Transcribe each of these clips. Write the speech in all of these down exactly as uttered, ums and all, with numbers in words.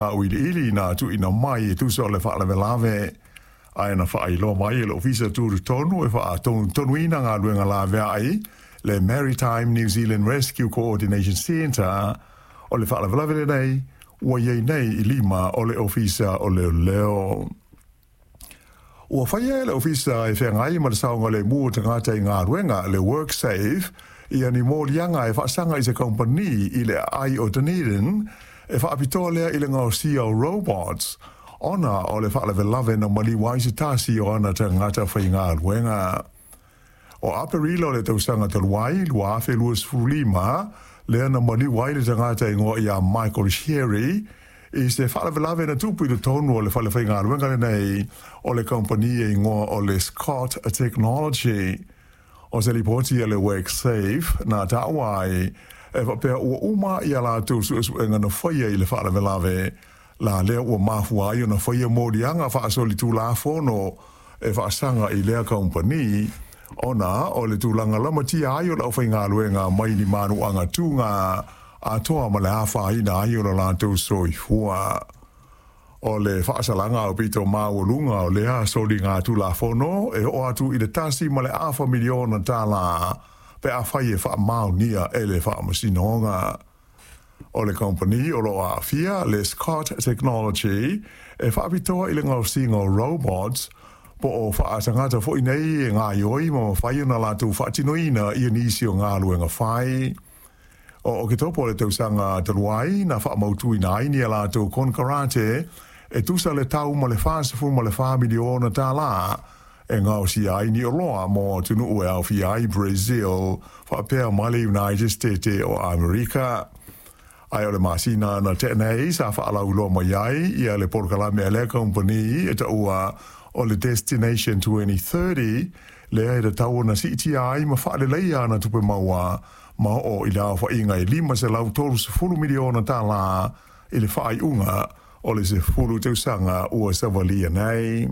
Auiliili na tuuina mai e tusa o le faalavelave ae na faailoa mai e le Ofisa Tutotonu e faatonutonuina galuega laveai le Maritime New Zealand Rescue Coordination Centre o le faalavelave lenei ua i ai nei i lima o le Ofisa o Leoleo. Ua faia e le Ofisa e feagai ma le saogalemu o tagata i galuega le WorkSafe ia ni moliaga e faasaga i se kamupani i le aai o Dunedin e faapitoa lea i le gaosia o robots ona o le faalavelave na maliu ai se tasi o ana tagata faigaluega. O Aperila o le tausaga talu ai lua afe luasefulu lima lea na maliu ai le tagata igoa ia Michael Sherry i se faalavelave na tupu i totonu o le fale faigaluega lenei o le kamupani e igoa o le Scott Technology. O se lipoti a le WorkSafe na taua ai e faapea ua uma ia latou suesuega na faia i le faalavelave la lea ua mafua ai ona faia moliaga faasolitulafono e faasaga i lea kamupani ona o le tulaga lamatia ai o le aufaigaluega mai ni manuaga tuga atoa ma le afaina ai o lo latou soifua. O le faasalaga aupito maualuga o lea soliga tulafono e oo atu i le tasi ma le afa miliona tālā pe afai e faamaonia e le faamasinoga. O le kamupani o loo aafia le Scott Technology e faapitoa i le gaosiga o robots po o faatagata foi nei e gaoioi ma mafai ona latou faatinoina ia nisi o galuega fai. O Oketopa o le tausaga talu ai na faamautuina ai ni a latou konekarate e tusa le tau ma le fasefulu ma le fa miliona tālā e gaosia ai ni oloa mo atunuu e aofia ai Brazil faapea ma le United States o Amerika. Ae o le masina na tea nei sa faalauiloa mai ai ia le polokalame a lea kamupani e taua o le Destination twenty thirty lea e tatau ona siitia ai ma faaleleia ana tupe maua ma oo i le aofaiga e lima selau tolusefulu miliona tālā i le faaiuga o le sefulu tausaga ua savalia nei.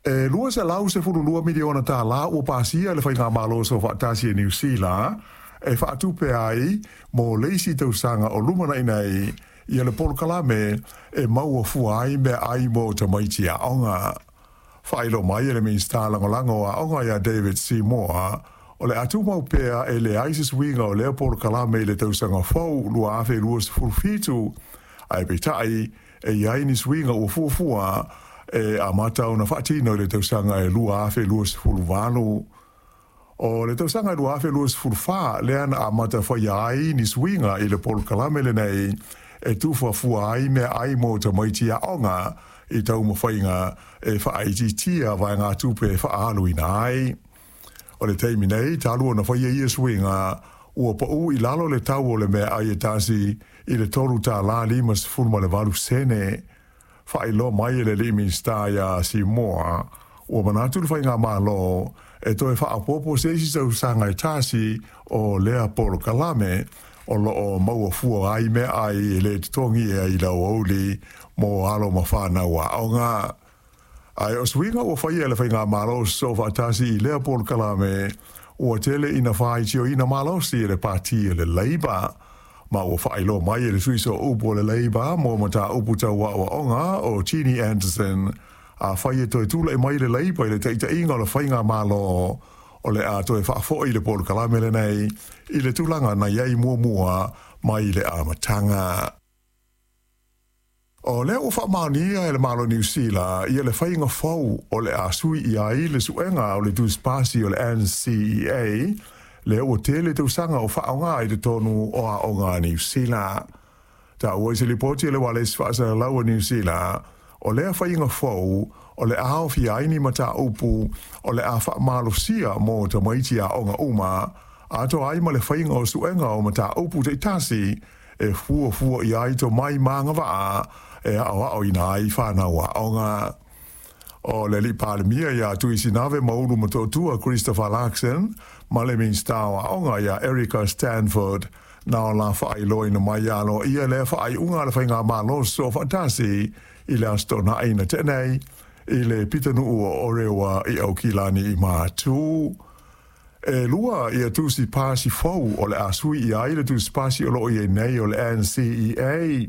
E lua selau sefulu lua miliona tālā ua pasia e le Faigamalo Soofaatasi e Niu Sila e faatupe ai mo le isi tausaga o lumanai nei ia le polokalame e maua fua ai meaai mo tamaiti aoga. Faailoa mai e le Minisita Lagolago o Aoga ia David Seymour o le a tumau pea e leai se suiga o lea polokalame i le tausaga fou lua afe luasefulu fitu, ae peitai e i ai ni suiga ua fuafua e amata ona faatino i le tausaga e lua afe luasefulu valu. O le tausaga e lua afe luasefulu fa lea na amata faia ai ni suiga i le polokalame lenei e tufuafua ai meaai mo tamaiti aoga i taumafaiga e faaitiitia vaegatupe e faaaluina ai. O le taimi nei, talu ona faia ia suiga, ua pau i lalo le tau o le meaai e tasi i le tolu tālā limasefulu ma le valu sene. Faailoa mai e le alii Minisita ia Seymour, ua manatu le Faigamalo e toe faaopoopo se isi tausaga e tasi o lea polokalame o loo maua fua ai meaai e le totogi i le aoauli mo alo ma fanau aoga. Ae o suiga ua faia e le Faigamalo Soofaatasi i lea polokalame ua tele ina faitioina malosi e le pati e le Labour. Ma ua faailoa mai e le sui sooupu o le Labour mo mataupu tau aoaoga o Ginny Anderson afai e toe tulai mai le Labour i le taitaiga o le Faigamalo o le a toe faafoi le polokalame lenei i le tulaga na i ai muamua mai le amataga. O lea ua faamaonia e le Malo o Niu Sila ia le faiga fou o le a sui i ai le suega o le tusipasi o le N C E A lea ua tele tausaga o faaaoga i totonu o aoga a Niu Sila. Taua i se lipoti a le Ualesi Faasalalau a Niu Sila, o lea faiga fou o le a aofia ai ni mataupu o le a faamalosia mo tamaiti aoga uma, atoa ai ma le faiga o suega o mataupu taitasi e fuafua i ai tomai ma agavaa e aoaoina ai fanau aoga. O le alii Palemia ia Tuisinave Maulu Motootua Christopher Luxon ma le Minisita o Aoga ia Erica Stanford na o la faailoaina mai aloaia lea faaiuga a le Faigamalo Soofaatasi i le Aso Toonai na tea nei i le pitonuu o Orewa i Aukilani i Matu. E lua ia tusi pasi fou o le a sui i ai le tusi pasi o loo i ai nei o le N C E A.